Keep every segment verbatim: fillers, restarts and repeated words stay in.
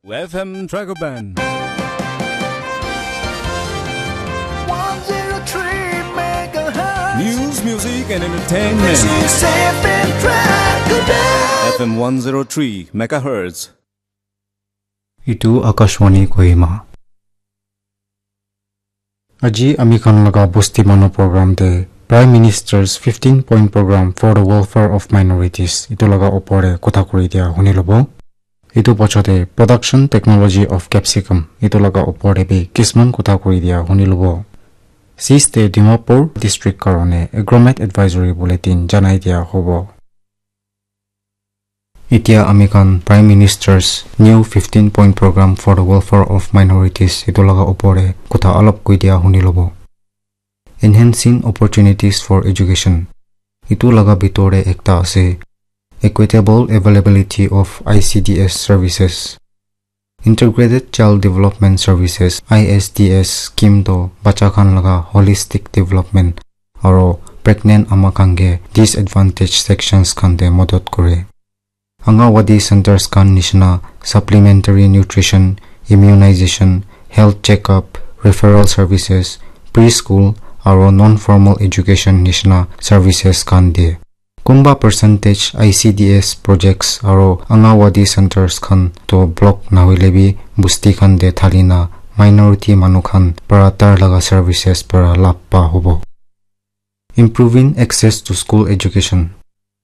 F M Dragon Band. one zero three megahertz. News, music, and entertainment. This is F M Dragon Band. F M one zero three megahertz. Itu Akashvani Kohima. Aji ami khan laga Bosti Manu program te Prime Minister's fifteen point program for the welfare of minorities itu laga opor te kotha kuri dia huni lobo. Itu pachate production technology of capsicum itu laga opor te bi kisman kotha kuri dia huni lobo. Sis te Dimapur district karone agromet advisory bulletin janai dia hobo. Itia ami khan Prime Minister's new fifteen point program for the welfare of minorities itu laga opor te kotha alop koi dia huni lobo. Enhancing opportunities for education. Itu laga bitor te ekta ase. Equitable availability of I C D S services. Integrated Child Development Services, I S D S scheme to bacha khan laga holistic development aro pregnant ama khan ke disadvantaged sections khan te modot kore. Anganwadi centers khan nishina supplementary nutrition, immunization, health checkup, referral services, preschool aro non-formal education nishina services khan de. Kumba percentage I C D S projects aro Anganwadi centers khan to block nahoile bi busti khan de thalina minority manu khan para tar laga services para lab pa hobo. Improving access to school education.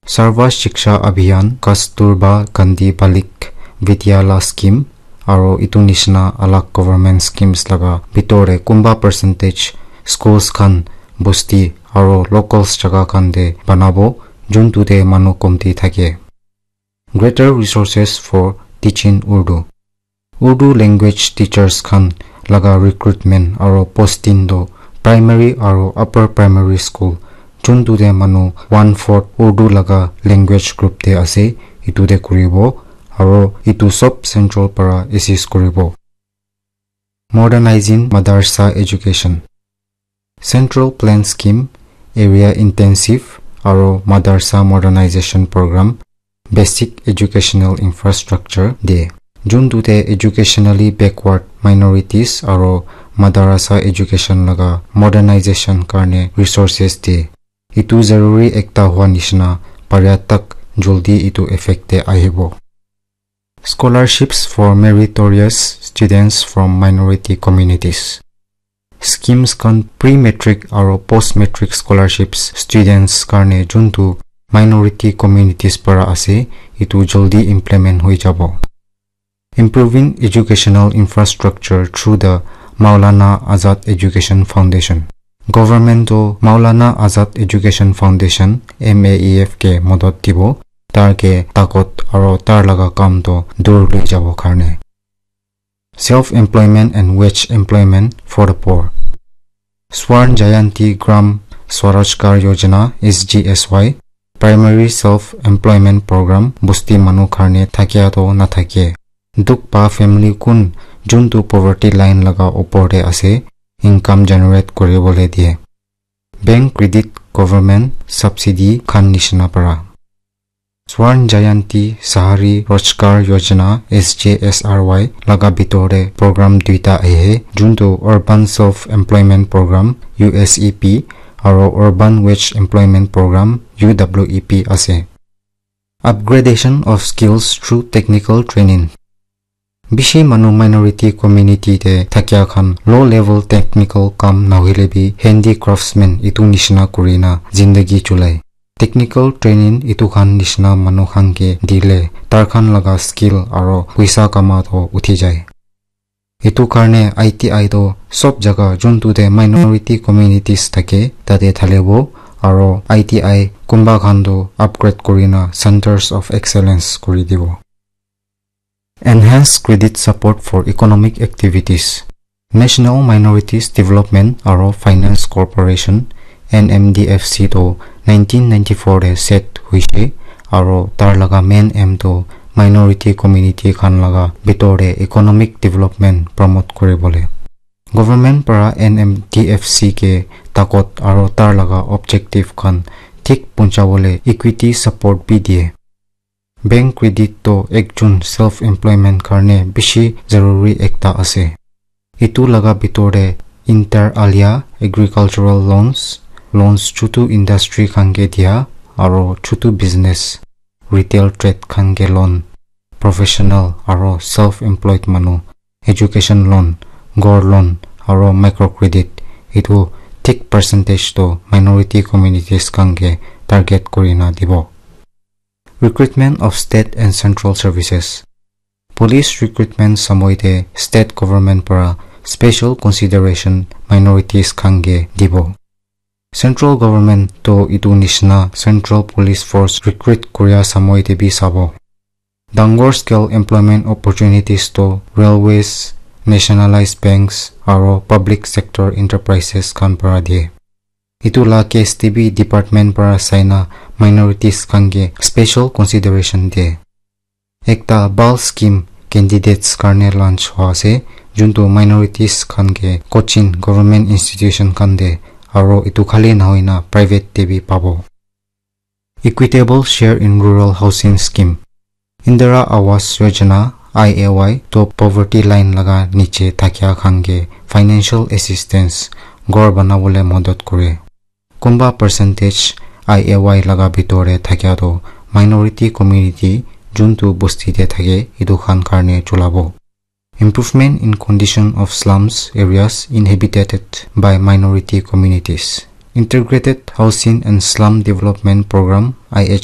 Sarva Shiksha Abhiyan, Kasturba Gandhi Balik Vidyalaya Scheme, aro itu nishina alag government schemes laga bitor te kumba percentage schools khan busti aro locals jaga khan te banabo juntu te manu komti thake. Greater resources for teaching Urdu. Urdu language teachers khan laga recruitment aro posting to primary aro upper primary school juntu te manu one fourth Urdu laga language group te ase itu te kuribo aro itu sob central para assist kuribo. Modernizing Madarsa Education. Central Plan Scheme, Area Intensive aro Madarsa Modernization Program, Basic Educational Infrastructure de. Juntu te educationally backward minorities aro madarasa education laga modernization karne resources de. Itu zaruri ekta hua nishina paria tak joldi itu effect te ahibo. Scholarships for meritorious students from minority communities. Schemes khan pre-matric aro post-matric scholarships students karne juntu minority communities para ase, itu joldi implement hoi jabo. Improving educational infrastructure through the Maulana Azad Education Foundation. Government to Maulana Azad Education Foundation, M A E F ke modot dibo, tar ke takot aro tar laga kam to dur loi jabo karne. Self-employment and wage employment for the poor. Swarn Jayanti Gram Swarajgar Yojana, S G S Y, Primary Self-Employment Program, busti manu karne thakia to nathakie. Dukh pa family kun juntu poverty line laga opor te ase, income generate kuribole die. Bank credit, government subsidy khan nishina para. Swarn Jayanti Shahri Rojgar Yojana, S J S R Y, laga bitor te program duita ahe, juntu Urban Self Employment Program, U S E P, aro Urban Wage Employment Program, U W E P, ase. Upgradation of skills through technical training. Bishi manu minority community te thakia khan low level technical kam nahoile bi handicraftsman itu nishina kurina zindagi chulai. Technical training itu khan nishina manu khan ke dile tar khan laga skill aro puisa kama to uthi jai. Itu karne I T I to sob jaga juntu te minority communities thake tate thalibo aro I T I kunba khan to upgrade kurina centers of excellence kuri dibo. Enhance credit support for economic activities. National Minorities Development aro Finance Corporation, N M D F C to nineteen ninety-four te set hoise aro tar laga main aim to minority community khan laga bitor te economic development promote kuribole. Government para N M D F C ke takot aro tar laga objective khan thik punchawole equity support bi diye. Bank credit to ekjon self employment karne bishi zaruri ekta ase. Itu laga bitor te inter alia agricultural loans, loans chutu industry khan ke dia, aro chutu business, retail trade khan ke loan, professional aro self employed manu, education loan, ghor loan aro micro credit, itu thik percentage to minority communities khan ke target kurina dibo. Recruitment of state and central services. Police recruitment samoi te state government para special consideration minorities khan ke dibo. Central government to itu nishina central police force recruit kuria samoi te bi sabo. Dangor scale employment opportunities to railways, nationalized banks aro public sector enterprises khan para die. Itu la case te bi department para saina minorities khan ke special consideration die. Ekta bhal scheme candidates karne launch hua ase, juntu minorities khan ke coaching government institution khan te, aro itu khali nahoina private te bi pabo. Equitable share in rural housing scheme. Indira Awas Yojana, I A Y, to poverty line laga niche thakia khan ke financial assistance, ghor banabole madad kore. Kunba percentage I A Y laga bitor te thakia to minority community juntu bosti te thake itu khan karne chulabo. Improvement in condition of slums areas inhabited by minority communities. Integrated Housing and Slum Development Program, I H